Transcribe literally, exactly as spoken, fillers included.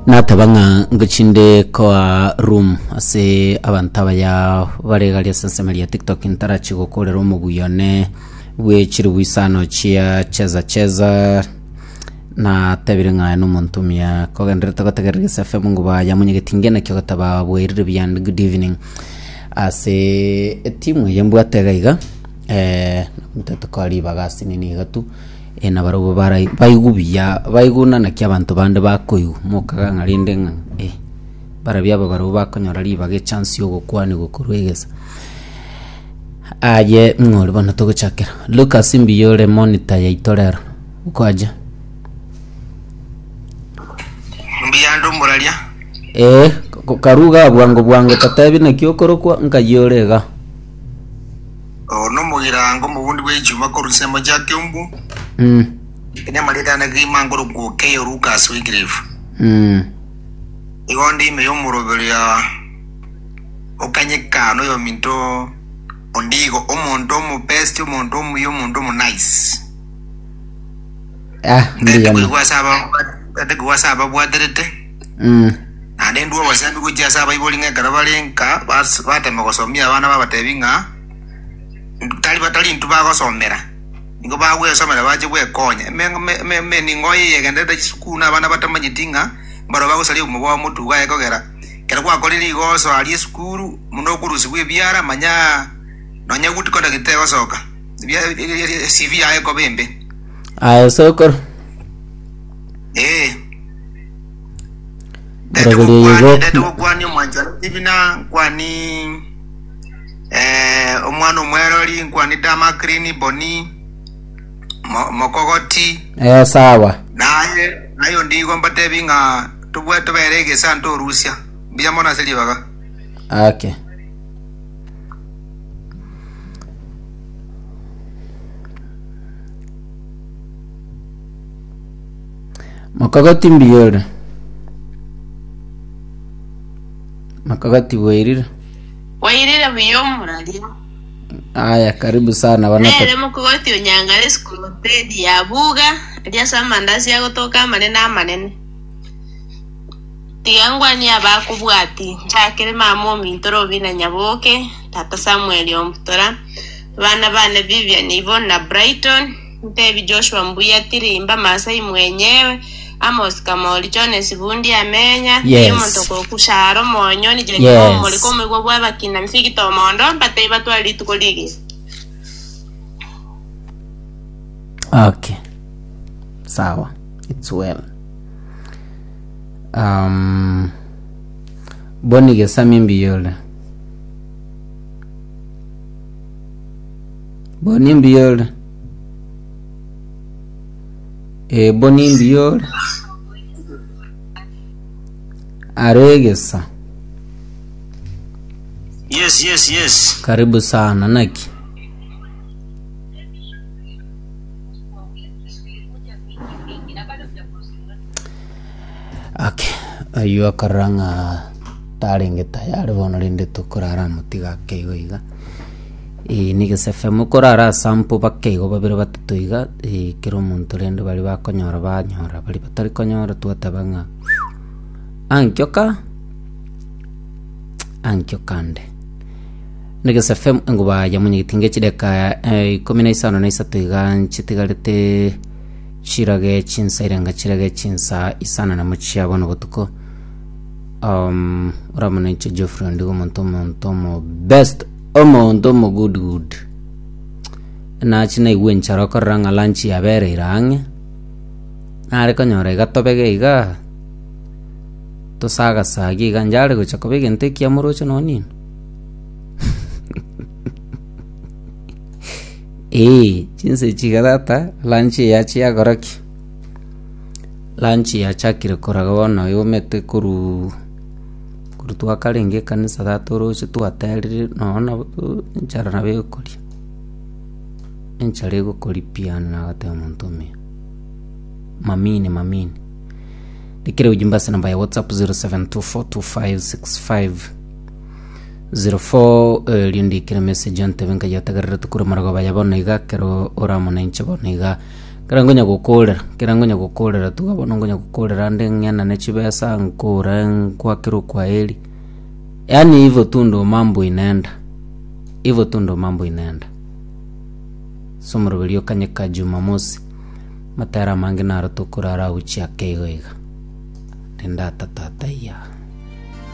Nateba ng'a ngochinde koa room ase abanto abaya bare gari ase ensemo ya TikTok ntarachi gokorera omoguyo one bwe chiribu isano chia cheza cheza natebire ng'a aye nomonto omuya kogenderete gotegerera Gese F M ngo yamonyegetie ngena ki ogoteba bwairire buya and good evening ase etimu eye mbwate iga iga eh, ntete koa ribaga ase nini iga tu eh, nabarobwo barai baigu buya baiguna naki abanto bande bakoigwa mokaga ng'a rende ng'a eh, barabia aba barobwo bakonyora ribaga echance ya ogokwanigwa korwa egesa aye ng'ori bono togochakera Lucas mbuya ore monitor yaito rero okwaja. Mbuyande omoraria. Ee, karuga bwango bwango totebi naki okorokwa nkai ore iga. Oo nomogirango omobundi bwe echuma korwa ensemo chia Kiumbu. Mm. Ene amareta ane kegima nkorokwa Okeyo Lucas Wycliffe. Mm. Igo ndi ime y'omoroberio okanyeka noyominto Ondigo, omonto omobest, omonto omuya, omonto omonice. Ah, Ntete mbuya koigwa ase aba ntete koigwa ase ababwaterete. Mm. Naende ndua obosembi gochia ase abaibori ng'a ekero bare nka bas- batema gosomia abana babatebi ng'a tari batari intwe bagosomera nigo bagwesomera bache gwekonya. Eme- eme- eme- emeningo eye egenderete chisukuru na abana batamanyeti ng'a mbaro bagosaria obomo bwabo motu iga ekogera ekero gwakorire rigoso aria esukuru muno okorusiwa ebiara manya nonya good conduct tegosoka Ebia- C V yaye ekoba embe. Aye sokoro. Ee. Ndete Moroberio gokwani igo ndete gokwani omwanchani Stephen, nkwani eh, omwana omwerori, nkwani Damakrini Boni Mo- Mokogoti. Eh, sawa. Naye naye Ondigo mbatebi ng'a tobwe tobere egesa ntorusia mbuya mono ase ribaga. Okay. Mokogoti mbuya ore. Mokogoti bwairire. Wairire buya omoraria. Aya, karibu sana bana. Nere mokogoti onyangare esukuru ya buga aria ase amandasi agotoka amanene amanene. Tiga ngwani abakobwati nchakere mama ominto Robina Nyaboke, tata Samuel Ombutora, abana bane Vivian Yvonne na Brighton, ntebi Joshua Mbuya Tirimba Masai mwenyewe, Amos Kamori Jones Bundi Amenya, Yes. omonto kokusharo monyoni Yes. Jenny Omoriko omigwa bw'abakina Mfigito Omondo mbatei batware rituko rigiya. Okay. Sawa. It's well. Um, Boni Gesami mbuya ore. Boni mbuya ore. Eh, Boni mbuya ore. Aregesa. Yes, yes, yes. Karibu sana naki. Okay. Aywo akarora ng'a tarenge tayari bono rende tokorara motiga ake igo iga. Eh, ni Gese F M korara sample bake igo babere batato iga eh, kera omonto rende bari bakonyora banyora bari batari konyora twateba ng'a ankioka ankio kande. Ni Gese F M enguba ya munyegetinge chideka eh, ikomi na isano na isato iga nchitigarete chirage chinsa irenga chirage chinsa isano na mochia bono botuko um, oramona inche Geoffrey Ondigo omonto omonto omo best omonto omo good good nachi naigwa enchara okorora ng'a lunch yabereire ang'e nare konyora iga tobege iga tosagasagi iga njare gocha koba egento ekiya moroche nonye nino ee chinsa echi iga tata lunch yachi yakora ki lunch yachakire koraga bono yomete korwa korwa twakarenge ekanisa tata oroche twaterire nonya nabo enchara nabo egokoria enchara egokoria pi yaani nagoteba omonto omuya mamini mamini ndikere ujumbe ase namba ya WhatsApp zero seven two four two five six five zero four erio ndikire message ontebe nkayategerera tukure marogoba ya bono iga kero oramona inche bono iga. Kera ngonya gokorera, kera ngonya gokorera tuga bono ngonya gokorera ande ng'enane chibesa nkore nkwakere okwaeri. Yaani hivyo tu ndo mambo inaenda, hivyo tu ndo mambo inaenda. So omoroberi okanyeka Jumamosi, matera amange naro tokorara gochia ake igo iga. Rende ata tata iya.